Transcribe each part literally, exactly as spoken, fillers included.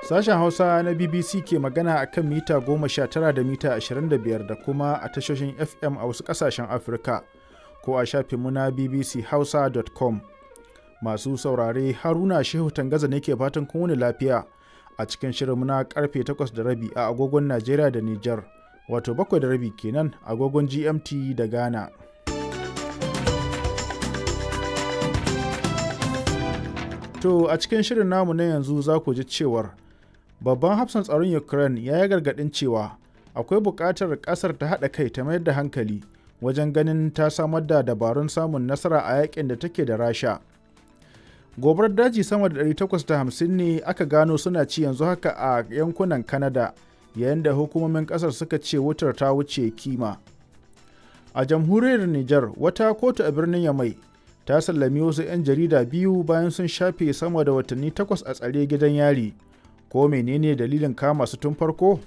Sashen Hausa na B B C ke magana a kan mita goma sha tara da mita ashirin da biyar da kuma a tashoshin F M a wasu ƙasashen Afirka ko a shafinmu na bbchausa dot com. Masu saurare, Haruna Shehu Tangaza ne ke fatan kun wuni lafiya a cikin shirinmu na karfe takwas da rabi a agogon Najeriya da Nijar, wato bakwai da rabi kenan agogon G M T da Ghana. To a cikin shirin namu na yanzu za ku ji cewar babban hafsan tsaron Ukraine ya yi gargaɗin cewa akwai buƙatar ƙasar ta haɗa kai ta mayar da hankali wajen ganin ta samar da dabarun samun nasara a yakin da take da Rasha. Gobarar daji sama da ɗari takwas da hamsin ne aka gano suna ci yanzu haka a yankunan Canada, yayin da hukumomin ƙasar suka ce wutar ta wuce kima. A jamhuriyar Nijar, wata kotu a birnin Yamai ta sallami wasu 'yan jarida biyu bayan sun shafe sama da watanni takwas a tsare gidan yari. Ko menene dalilin kama su tun farko?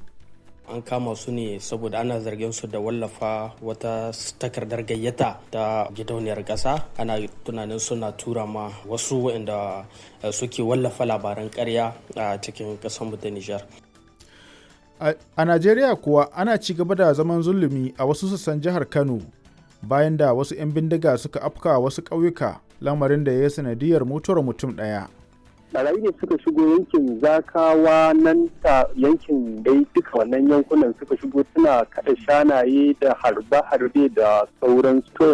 An kama su ne saboda ana zargin su da wallafa wata takardar gayyata ta gidauniyar ƙasa. Ana tunanin suna tura ma wasu waɗanda suke wallafa labaran ƙarya a cikin ƙasarmu ta Nijar. A Najeriya kuwa, ana ci gaba da zaman zulumi a wasu sassan jihar Kano bayan da wasu 'yan bindiga suka afka wasu ƙauyuka, lamarin da ya yi sanadiyar mutuwar mutum ɗaya. Barayi ne suka shigo yankin Zakawa nan ta yankin dai duka wannan yankunan suka shigo suna kada shanaye da harbe-harbe da sauran. To